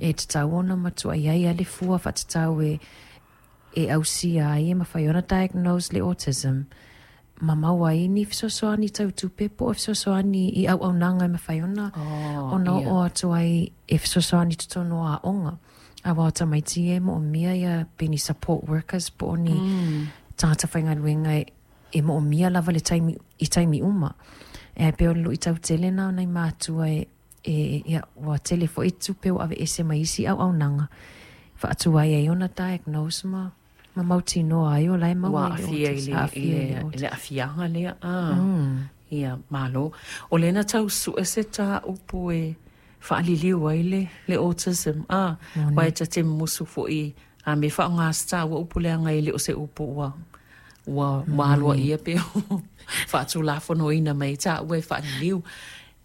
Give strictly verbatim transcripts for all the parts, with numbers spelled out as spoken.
E tatau ona matuaʻi ai a le fua faatatau e e ausia ai e mafai ona diagnose le autism ma maua ai ni fesoasoani tau tupe po o fesoasoani i auaunaga e mafai ona Oh, ona ia. oo atu ai e fesoasoani i totonu o aoga. Auā o tamaiti e moomia ia pe ni support workers po o ni Mm. tagata faigaluega e e moomia lava le taimi i taimi uma. E pei o le luʻitau tele na o nai matua e e ia ua tele foʻi tupe ua aveese mai isi auaunaga faatuai ai ona diagnose ma ma mautinoa ai o la e Ua maua i le aafia i autism le i aafia i le le i autism. le aafiaga lea a. Mm. Ia malo. O lea na tau sue se tāupu e faaliliu ai le le autism a. Uae Moni. ta te musu foʻi a me faaaogā ua upu leaga e le o se upu ua ua ua Moni. aloaia pe faatulafonoina mai taua e faaliliu.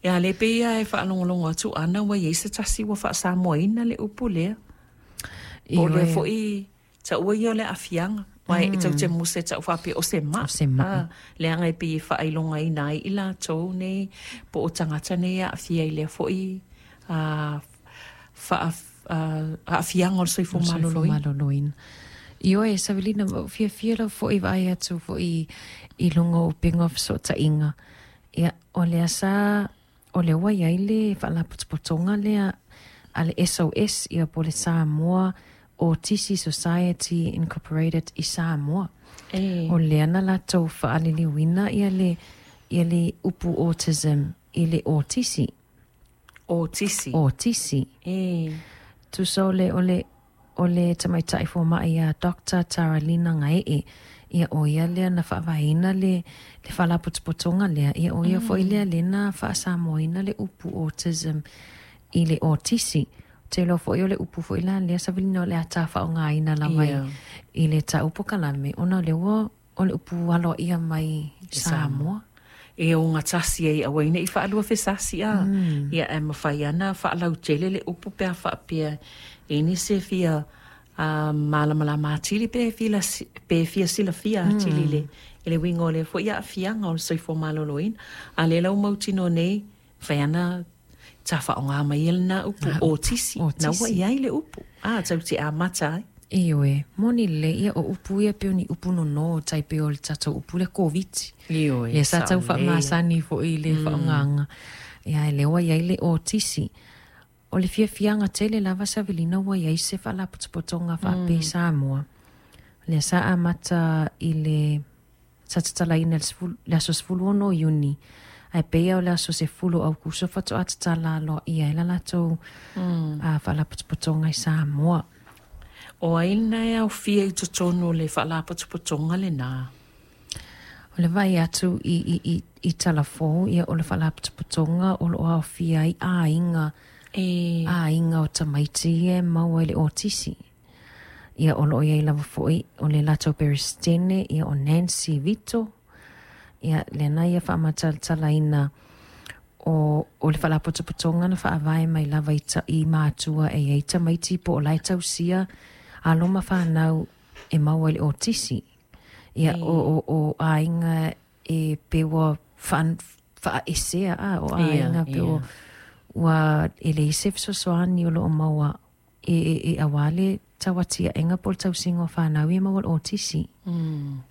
Ia le pei ia e faalogologo atu ana ua iai se tasi ua faasamoaina le upu lea. Po o lea Ioe. foʻi taua ia o le aafiaga. Uae e tatou te musu e tau faapea o se O maʻi. se maʻi. A, leaga e pei e faailogaina ai i latou nei po o tagata nei e aafia i lea foʻi a faa aafiaga o le soifua O le soifua maloloina. maloloina. Ioe, Savelina, ua ou fiafia lava foʻi vaai atu foʻi i luga o upega o fesootaiga. Ia, o lea sa o lea ua iai le faalapotopotoga lea a le S O S, ia po o le Samoa Autisi Society Incorporated i Samoa. E. O lea na latou faaliliuina ia le ia le upu autism i le autisi. Autisi. Autisi. E. Tusa o le o le o le tamaitaʻi fomaʻi ia Doctor Taralina Gaee, ia o ia lea na faavaeina le le faalapotopotoga lea, ia o ia foʻi lea lea na faasamoaina le upu autism i le autisi. Te iloa foʻi o le upu foʻi la lea, Savelina, o le a faaaogāina lava i Ia. i le taupu kalame ona o lea ua o le upu aloaia mai I Samoa. Samoa. E ogatasi ai aua ina i faalua fesasi a. Mm. Ia e mafai ana faalautele le upu pe a faapea e nisi e fia a malamalama atili pe fia pe fia silafia atili le i le uiga o lea foʻi aafiaga o le soifua maloloina. A lea la ua mautinoa nei fai ana ta faaaogā mai e lenā upu autisi na ua Autisi. i ai le upu a tatou te amata ai. Ioe, moni lelei ia o upu ia pei o ni upu nonō tai pei o le tatou upu lea Koviti. Ioe, Ia sa tau saolelei. faamasani foʻi i le faaaogāga. Ia e lea ua iai le autisi. O le fiafiaga tele lava, Savelina, ua iai se faalapotopotoga faapea i Samoa. Lea sa amata i le sa tatalaina le sefulu- le aso sefulu ono o Iuni. Ae peia o le aso sefulu o Aukuso faatoa tatala aloaia ai la latou a faalapotopotoga i Samoa. O ai lena e aofia i totonu o le faalapotopotoga lenā? O le vaai atu i, i, i, i talafou, ia o le faalapotopotoga o loo aofia ai aiga E. aiga o tamaiti ia e maua i le autisi. Ia o loo iai lava foʻi o le latou peresetene, ia o Nancy Vito. Ia lena ia faamatalatalaina o, o le faalapotopotoga na faavae mai lava i, ta, i matua e iai tamaiti po o lae tausia alo ma fanau e maua i le autisi. Ia E. o, o, o aiga e pe ua faan, faaesea a o Ia, aiga pe o ia. ua e leai se fesoasoani o loo maua e, e, e auā le tauatiaʻega po o le tausiga o fanau ia maua le autisi. Mm.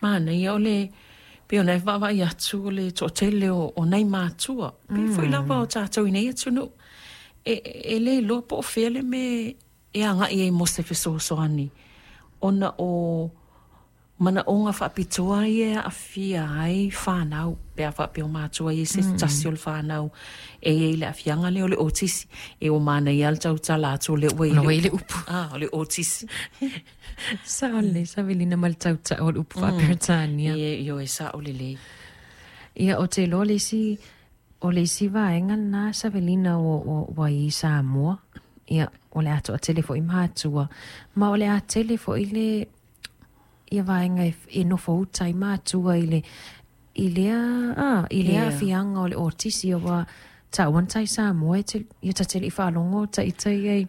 Manaia o le pei ona e vaavaai atu o le toatele o, o nai matua. Pei foi lava o tatou i nei atunuu. E, e le iloa po o fea le mea e agaʻi ai mo se fesoasoani. Ona o manaʻoga faapitoa ia e aafia ai fanau. Pe a faapea o matua ia se tasi o le fanau e iai le aafiaga lea o le autisi. E o manaia le tautala atu o lea ua i Ona le ua i le upu. upu. Ah, o le autisi. Sao lelei, Savelina, ma le tautau o le upu faaperetania. Ie, ioe, sao lelei. Ia o te iloa le isi o le isi vaega lenā, Savelina, ua, ua, ua i Samoa. Ia o le a toatele foʻi matua ma o le a tele foʻi le ia vaega e, e nofo uta i matua i le i lea a i lea Ia. aafiaga o le autisi ua taua na tai Samoa e te ia tatele i faalogo taita ia i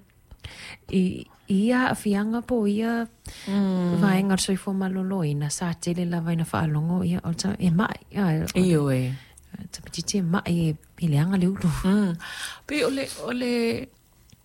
i i ia aafiaga po o ia Mm. vaega o le soifua maloloina sa tele lava ina faalogo ia o le ta- e maʻi a o Ioe. tamaitiiti e maʻi e e leaga le ulu. Mm. Pei o le, o le